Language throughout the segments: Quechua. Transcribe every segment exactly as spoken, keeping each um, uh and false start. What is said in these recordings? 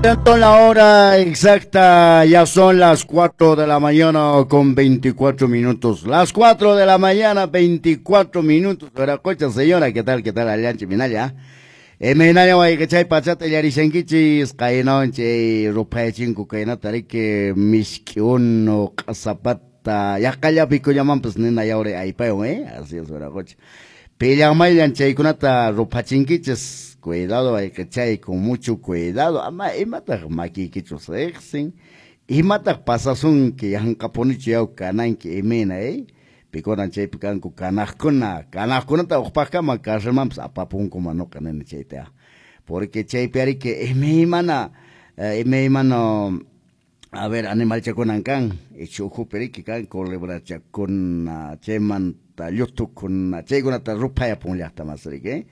La hora exacta, ya son las cuatro de la mañana con veinticuatro minutos. Las cuatro de la mañana, veinticuatro minutos. Cocha, señora, ¿qué tal? ¿Qué tal? Allanchi, minaya. Imaynalla wayqichay pachata illarishankichis qaynawan chay ruphayachinku kaynata riki misk'i unu q'asapata yaqallapi kullamanpas nina yawri aypaywan, eh? Así es, wiraqucha. Pillanmayllan chaykunata ruphachinkichis. Cuidado wayqichay, con mucho cuidado. Ama imataq makiykichus riqsin, imataq pasasunki yanqapunichu yaw kananki imayna, eh? Pikunan chaypi kanku kanaqkuna, kanaqkunata uqpaqkama carcelmanpas apapunkuman nuqa nini chayta. Porque chaypi ariki imaymana, imaymana, a ver, animalchakunan kan, ichu ukhupi riki kan culebrachakuna, chaymanta llutukuna, chaykunata ruphayapun llaqtamas riki, eh?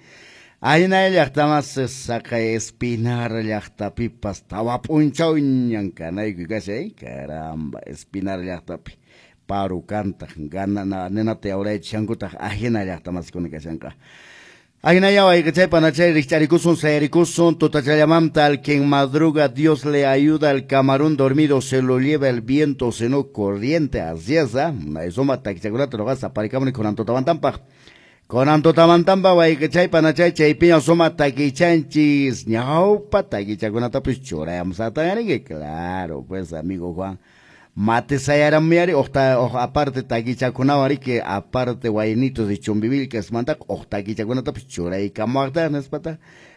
Aynay llaqtamas saqay Espinar llaqtapipas tawa p'unchawñan kanayku kashay, caramba, Espinar llaqtapi paru kantaq ganana ninata yawraychishankutaq ajina llaqtamaskuna kashanqa. Ajinaya wayqichay panachay rikch'arikusun sayarikusun tutachallamanta al quien madruga Dios le ayuda, al camarón dormido se lo lleva el viento, sino corriente, así es, ¿eh? Suma takichakunata nuqas aparikamuni kunan tutamantampaq. Kunan tutamantampa wayqichay panachay chaypiña suma takichanchis ñawpa takichakunatapis churayamusatan riki, claro, pues amigo Juan. Mate sayaramuyari uqta uq aparte takichakunawan riki aparte waynitos de Chumbivilcas mantaq uq takichakunatapis churaykamuwaqtaq nispataq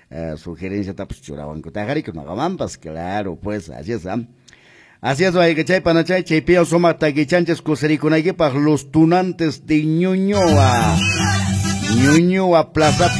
eh, sugerenciatapis churawankutaq riki nuqamanpas, claro, pues así es, ¿eh? Así es, wayqichay panachay chaypiña suma takichanchis kusirikunaykipaq los tunantes de Ñuñoa. Ñuñoa Plaza.